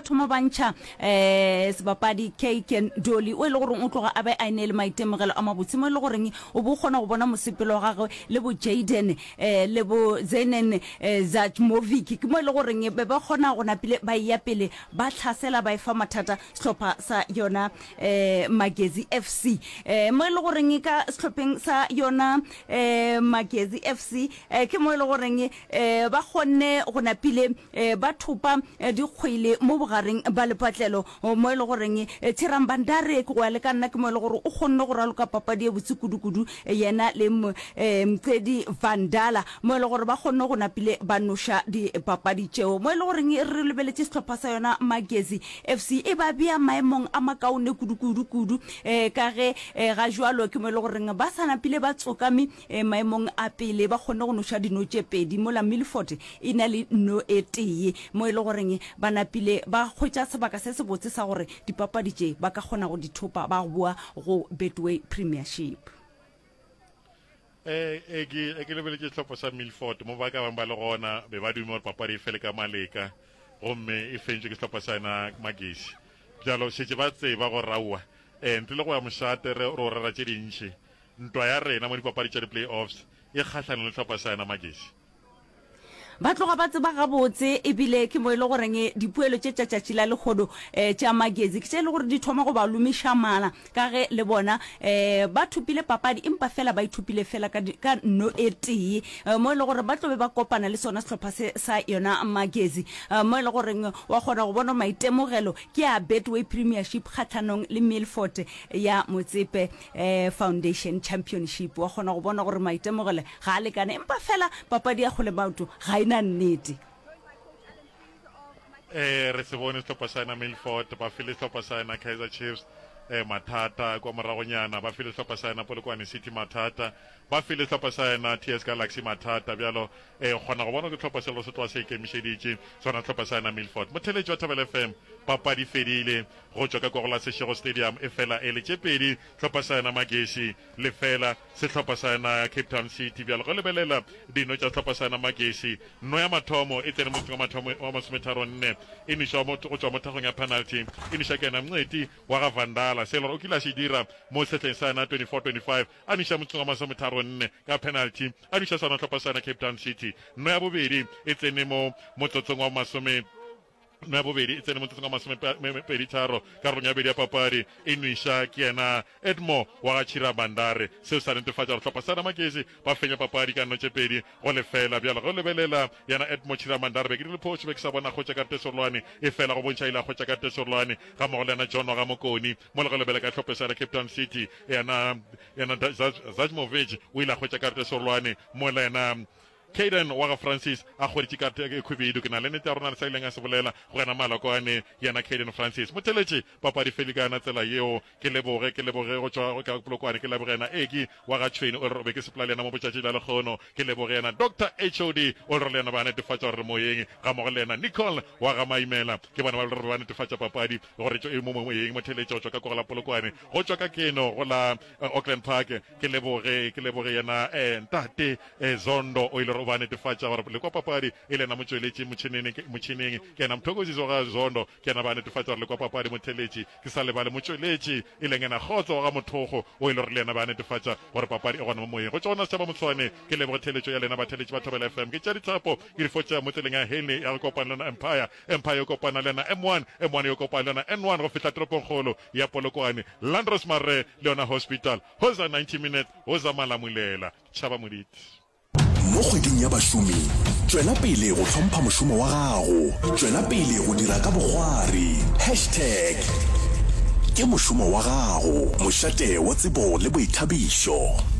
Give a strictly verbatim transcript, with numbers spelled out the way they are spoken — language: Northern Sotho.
thoma ba ntšha um sebapadi Kaken Dolly o e le goreng o tloga a be a ene le maitemogelo a mabotse, mo e le goreng o bo kgona go bona mosepelo wa gagwe le bo Jaden um le bo Zenen um Zajmovic, ke mo e le goreng be ba kgona go napile ba eya pele ba tlhasela ba efa mathata sehlopha sa yona um Magezi F C. um mo e le goreng ka sehlopheng sa yona um Magezi F C um ke mo e le goreng um ba kgonne go napile um ba thopa dikgwele mo bogareng ba lepatlelo, mo e le goreng Thiram Bandare ke go ya le ka nna ke mo e le gore o kgonne go raloka papadi e botse kudu-kudu yena le Mcedi Vandala, mo e le gore ba kgonne go napile ba noša dipapadi tšeo. Mo e le goreng re lebeletše sehlopha sa yona Magezi F C e ba bea maemong a makaone kudu-kudu-kudu um ka ge ga jwalo ke mo e le goreng ba sa napile ba tsokame maemong a pele, ba kgonne go noša dino tše pedi mola Milford e na le no e tee, mo e le goreng ba napile ba hwetša sebaka se sebotse sa gore dipapadi tše ba ka kgona go di thopa ba boa go Betway Premiership. E e ke e ke lebeletše sehlopha sa Milford mo ba ka bang ba le gona be ba dume gore papadi e fele ka maleka, gomme e fentšwe ke sehlopha sa yena Magesi. Bjalo šetše ba tseba gore aowa um ntle le go ya mošate re ro rera tše dintši, ntwa ya rena mo dipapadi tša di-playoffs e kgahlanong le sehlopha sa yena Magesi. Ba tloga ba tseba gabotse ebile ke mo e le goreng dipoelo tše tša tšatši la lehono um tša Magezi ke tše e le gore di thoma go ba lomiša mala, ka ge le bona um ba thopile papadi empa fela ba ithopile fela ka, ka nno e tee, um mo e le gore ba tlo be ba kopana le sona sehlopha se sa yona Magezi, um mo e le goreng wa kgona go bona maitemogelo ke a Betway Premiership kgahlanong le Milford ya Motsepe um Foundation Championship. Wa kgona go bona gore maitemogelo ga a lekane, empa fela papadi ya kgole maoto ga e na nnete. Eh re se bone sehlopha sa yena Milford ba file sehlopha sa yena Kaizer Chiefs eh mathata kwa moragonyana, ba file sehlopha sa yena Polokwane City mathata, ba file sehlopha sa yena T S Galaxy mathata. Bjalo eh kgona go bona ke sehlopha selo se tloga se ikemišeditše sona sehlopha sa yena Milford. Motheletši wa Thobela F M, papadi fedile go tšwa ka kwa go la Seshego Stadium, e fela e le tše pedi sehlopha sa yena Magesi lefela sehlopha sa yena Cape Town City. Bjalo ge lebelela dino tša sehlopha sa yena Magesi, nno ya mathomo e tsene motseng wa mathomo wa masometharo nne, e nwešwa go tšwa mo thagong ya penalty, e nwešwa ke yena Mncedi wa ga Vandala, se e le gore o kile a se dira mo sehleng sa yena twenty-four twenty-five, a nweša motseng wa masometharo nne ka penalty, a nweša sona sehlopha sa yena Cape Town City. Nno ya bobedi e tsene mo motsotsong wa masome no ya bobedi e tsene motsotsong wa masomepedi tharo karolong ya bobedi ya papadi, e nweša ke yena Edmo wa ga Chira Bandare. Seo sa netefatša gore hlopha sa Magesi ba fenya papadi ka nno tše pedi go lefela. Bjalo ge o lebelela yena Edmo Chira Bandare, be ke dirile phošo, be ke sa bona kgotša karate serolwane, e fela go bontšha ile a kgotša karate serolwane ga mmogo le yena John wa ga Mokoni. Mo le ge lebela ka hlophe sa Cape Town City, yena yena Zajmovic o ile a kgotša karate serolwane, mola yena Caden wa ga Francis a hweditše karata e khwibidu. Ke na le nnete ya rona le sa ileng a se bolela go yena Malokwane, yena Caden Francis. Motheletši, papadi feli ka yona tsela yeo. Ke leboge, ke leboge go tšwa ka Polokwane, ke leboge yena Eki wa ga Tšhweni, o re be ke sepela le yena mo botšatši la lekgono. Ke leboge yena Doctor H O D, o re le yena ba netefatša gore re moyeng, ga mmogo le yena Nicole wa ga Maimela. Ke bona ba re ba netefatša papadi gore e mo moyeng. Motheletši go tšwa ka kwa go la Polokwane, go tšwa ka keno go la Auckland Park. Ke leboge, ke leboge yena eh, ntate eh, Zondo, o ile gore o ba netefatša gore le kwa papadi e le yena motšweletši motšhineng, motšhineng ke yena Mthokozisi wa ga Zondo, ke yena ba netefatša gore le kwa papadi motheletši. Ke sa lebale motšweletši e leng yena Kgotso wa ga Mothogo, o ile gore le yena ba netefatša gore papadi e gona mo moyeng. Go tšwa gona setšhaba Motshwane, ke leboge theletšo ya lena batheletši ba Thobela F M. Ke tšea dithapo ke di fotša mo tseleng ya Henley ya go kopana le yona Empire, Empire yo kopana le yona M one, M one yo kopana le yona N one go fihla toropongkgolo ya Polokwane, Landros Marre le yona Hospital. Hoza ninety minutes, hoza Malamulela. Tšhaba Moditi. Mo kgweding ya bašomi, tšwela pele go hlompha mošomo wa gago. Tšwela pele go dira ka bokgwari. Hashtag ke mošomo wa gago. Mošate wa tsebo le boithabišo.